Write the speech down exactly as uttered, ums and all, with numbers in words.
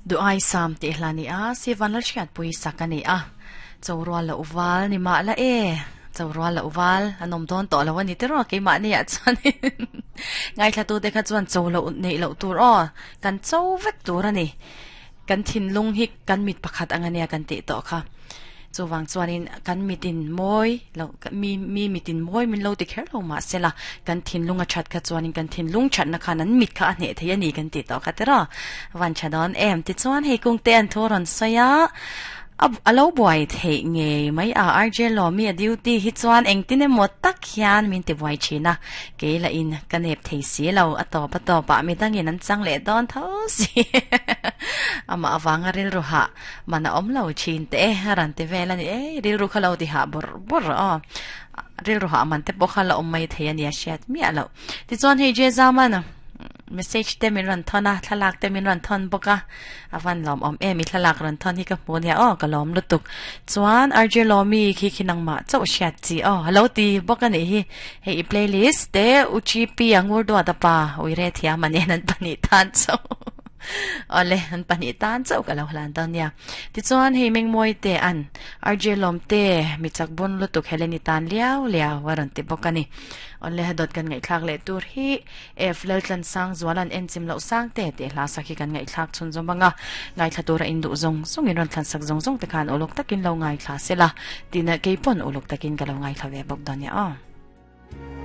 Du ai sam te hlani a sivan la hriat pui sakani a chawrwa la uwal ni ma la e chawrwa la uwal anom don to lo ani tero ke ma ni a chan ngai thla tu te kha chuan chaw lo nei lo tur o kan chaw vek tur ani kan thin lung hi kan mit pakhat angania kan ti to kha chuwang chuanin kan mitin moi lo mi mi mitin moi min lo ti kher lo ma sela kan thin lunga that kha chuanin kan thin lung that na khan an mit kha ane thei ani kan ti to kha tera wan chadon em ti chuan hei kung te an thoron soya ab alo boy thei nge mai a rj lo mi a duty hi chuan engtin emaw tak hian min ti buai thina ke la in ka nep thei si lo a to pa to pa mi dangin an chang le don tho si ama awanga ril ru ha mana om lo chin te ran te vela ni e ril ru khalo ti ha bor bor a ril ru ha man te pawh kha la awm mai thei ania hriat miah lo ti chuan hei je zamana message te min ran thona thlalak te min ran thon boka awan lom om e mi thlalak ran thon hi ka hmu nia o ka lom lutuk chuan rj lomi khi khinang ma chau hriat chi o hello ti boka ni hi hei i playlist te uchp angur do ta pa uire thiam ani nan pani tan chau ole an pani tan chau ka lo hlan ton nia ti chuan hei mengmoi te an rj lom te mi chak bon lutuk heleni tan liao liao waran ti boka ni ole dot kan ngai thlak le tur hi f lal tlan sang zualan en chim lo sang te te hla sakhi kan ngai thlak chun zomanga ngai thla tura in du zong zong in ron thlan sak zong zong te khan olok takin lo ngai thla sela tina keipon olok takin ka lo ngai thla ve bok donia a.